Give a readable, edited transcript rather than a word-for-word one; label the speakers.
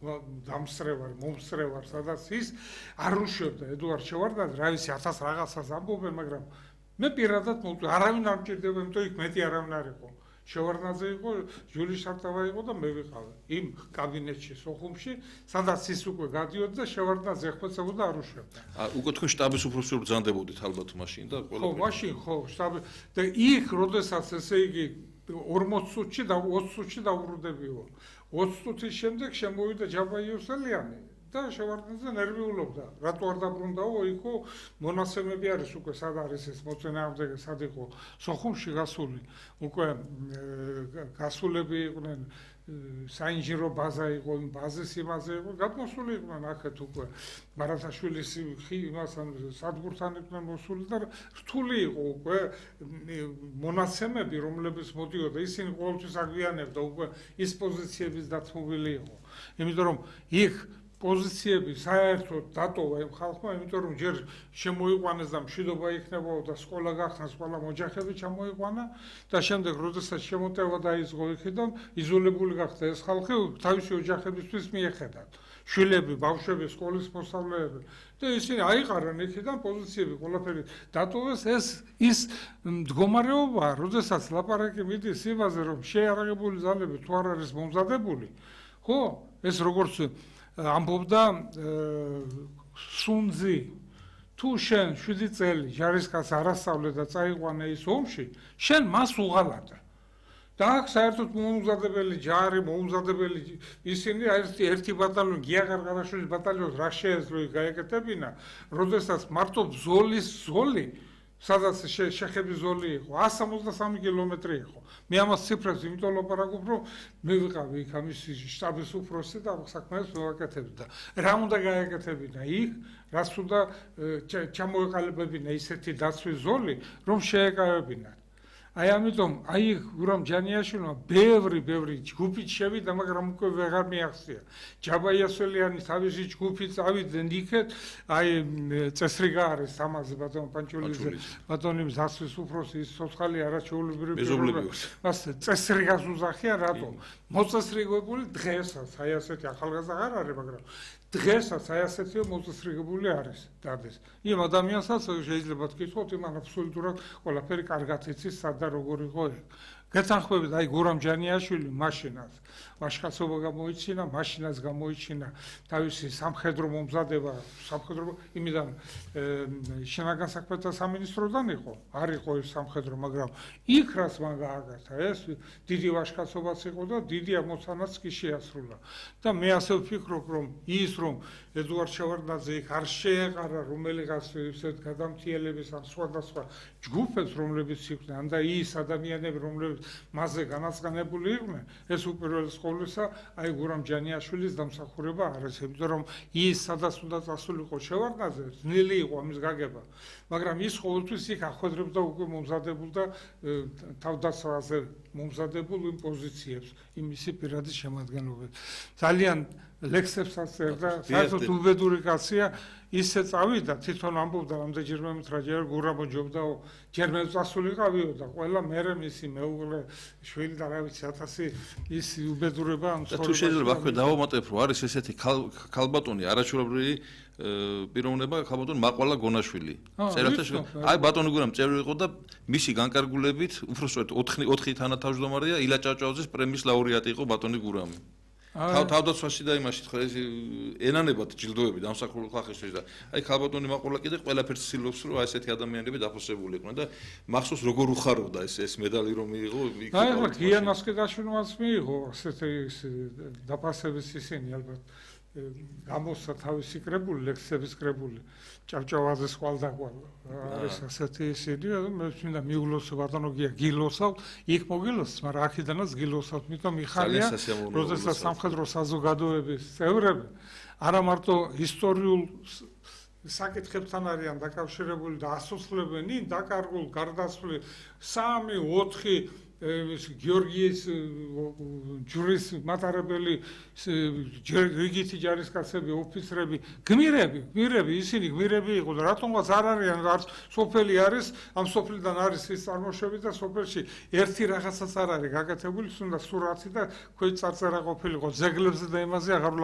Speaker 1: დამსწრე ვარ, მომსწრე ვარ, სადაც ის არ უშვებდა ედუარდ შევარდნაძე, რა ვიცი 1000 რაღაცას ამბობენ, მაგრამ მე პირადად არავინ არ მჭირდება, იმიტომ იქ მეტი არავინ არ იყო. შევარდნაძე იყო, ჟული შარტავა იყო და მე ვიყავი იმ კაბინეტში სოხუმში, სადაც ის უკვე გადიოდა და შევარდნაძე ეხმეცებოდა არ უშვებდა.
Speaker 2: უკვე თქვენ შტაბის უფროსი ბრძანდებოდით ალბათ მაშინ და
Speaker 1: ხო, მაშინ ხო, შტაბი და იქ როდესაც ესე იგი 40 წუთში და 20 წუთში დაუბრუნდებიო. 20 წუთის შემდეგ შემოვიდა ჯაბა იოსელიანი და შევარდნაძე ნერვიულობდა. რატო არ დაბრუნდაო? იქო მონაცემები არის უკვე სად არის ეს მოწინააღმდეგე, სად იყო სოხუმში გასული. უკვე გასულები იყვნენ საინჟინრო ბაზა იყო, იმ ბაზის იმაზე იყო, გადმოსული იყვნენ აქეთ უკვე. ბარათაშვილის იმასთან სადგურთან იყვნენ მოსული და რთული იყო უკვე მონაცემები, რომლებიც მოდიოდა, ისინი ყოველთვის აგვიანებდა უკვე ის პოზიციების დათმობილი იყო. იმიტომ რომ იქ პოზიციები საერთოდ დატოვა იმ ხალხმა, იმიტომ რომ ჯერ შემოიყვანეს და მშვიდობა იქნებაო და სკოლა გახსნას, ყველა მოჯახები ჩამოიყვანა და შემდეგ როდესაც შემოტევა დაიწყო იქიდან, იზოლებული გახდა ეს ხალხი თავისი ოჯახებისთვის მიეხედათ. შვილები, ბავშვები, სკოლის მოსწავლეები და ისინი აიყარαν იქიდან პოზიციები ყველაფერი დატოვეს. ის მდგომარეობა, როდესაც ლაპარაკი მიდის იმაზე, რომ შეიარაღებული ძალები თუ არ არის მომზადებული, ხო, ეს როგორც ამბობდა სუნძი, თუ შენ 7 წელი ჯარისკაცს არ ასწავლე და წაიყვანე ის ომში, შენ მას უღალატე. და აქ საერთოდ მოუმზადებელი ჯარი, მოუმზადებელი ისინი ერთი ბატალიონი, გია ყარყარაშვილის ბატალიონს რა შეეძლო გაეკეთებინა, როდესაც მარტო ბრძოლის ზოლი, სადაც შეხების ზოლი იყო, 163 კილომეტრი იყო. მე ამას ციფრებს იმიტომ ლაპარაკობ, რომ მე ვიყავი იქ ამის შტაბის უფროსი და საქმეებს მოვაკეთებდი და რა უნდა გაეკეთებინა იქ, რაც უნდა ჩამოეყალიბებინა ისეთი დაცვის ზოლი, რომ შეეკავებინათ. აი ამიტომ აი გურამ ჯანიაშვილმა ბევრი ჯგუფით შევიდა, მაგრამ უკვე ვეღარ მიახსია. ჯაბა იოსელიანი თავისი ჯგუფით წავიდნენ იქეთ, აი წესრიგა არის ამაზე ბატონ პანჩულიძე, ბატონი მზასვის უფროსი, ის ცოცხალი არაჩვეულებრივი მას წესრიგას უზახიან, რატო? მოწესრიგებული დღესაც, აი ასეთი ახალგაზრდა არ არის, მაგრამ დღესაც აი ასეთი მოწესრიგებული არის დარდეს. იმ ადამიანსაც შეიძლება თქვით, იმან აბსოლუტურად ყველაფერი კარგად იცის, სად და როგორ იყო. გეთანხმებით, აი გურამ ჯანიაშვილი მაშინაც ვაჟკაცობა გამოიჩინა, მაშინაც გამოიჩინა თავისი სამხედრო მომზადება, სამხედრო იმიდან შინაგან საქმეთა სამინისტროდან იყო, არ იყო ის სამხედრო, მაგრამ იქ რაც მან გააკეთა, ეს დიდი ვაჟკაცობაც იყო და დიდი ამოცანაც კი შეასრულა. და მე ასე ვფიქრობ, რომ ის რომ ედუარდ შევარდნაძე იქ არ შეეყარა რომელიღაც ისეთ გადამთიელების ან სხვადასხვა ჯგუფებს, რომლებიც იყვნენ, ან და ის ადამიანები, რომლებიც მასზე განაცხადებული იყვნენ, ეს უპირველეს ყოვლისა აი გურამ ჯანიაშვილის დამსახურება არის, იმიტომ რომ ის სადაც უნდა წასულიყო შევარდნაძე, ძნელი იყო ამის გაგება, მაგრამ ის ყოველთვის იქ ახვედრებდა უკვე მომზადებულ და თავდაცვაზე მომზადებულ იმ პოზიციებს, იმისი პირადი შემადგენლობით. ძალიან ლექსებსაც წერდა, საერთოდ უბედური კაცია, ისე წავიდა, თვითონ ამბობდა რამდენჯერმე რაჯერ გურამო ჯობდაო, ჯერ მე წასულიყავიო და ყველა მერე მისი მეუღლე, შვილი და რა ვიცი 1000 ის უბედურება ამ ცხოვრებაში.
Speaker 2: თუ შეიძლება აქვე დავამატებ, რომ არის ესეთი ქალბატონი არაჩვეულებრივი პიროვნება, ქალბატონი მაყვალა გონაშვილი. აი ბატონი გურამ წევრი იყო და მისი განკარგულებით, უბრალოდ 4 თანათავმჯდომარეა ილა ჭავჭავაძის პრემიის ლაურეატი იყო ბატონი გურამი. თავდაცვაში და იმაში თქვა ეს ენანებად ჯილდოები დამსახურებულ ხალხისთვის და აი ქალბატონი მაყვალა კიდე ყველაფერს ცდილობს რომ აი ესეთი ადამიანები დაფოსებული იყვნენ და მახსოვს როგორ უხარობდა ეს медаლი რომ მიიღო იქ
Speaker 1: აი ხო გიან მასკედაშვილმაც მიიღო ასეთი დაფასების ისინი ალბათ გამოსცა თავისი კრებული ლექსების კრებული ჭავჭავაძეს ყვალდაკვალ არის ასეთი ისინი მე მინდა მიულოსო ბატონოგია გილოსავ იქ მოგილოს მაგრამ აქედანაც გილოსავ მიტომ მიხარია როდესაც სამხედრო საზოგადოების წევრები არა მარტო ისტორიულ საკითხებთან არიან დაკავშირებული და ასოცლებენ ნინ დაკარგულ გარდაცვლილ 3-4 გიორგიის ჯურის მატარებელი რიგითი ჯარისკაცები ოფიცრები გმირები ისინი გმირები იყო და რატომღაც არ არიან არც სოფელი არის ამ სოფლიდან არის ის წარმოშობი და სოფელში ერთი რაღაცაც არ არის გაკეთებული თუნდაც სურათი და ქვეით წარწერა ყოფილიყო ძეგლებზე და იმაზე აღარ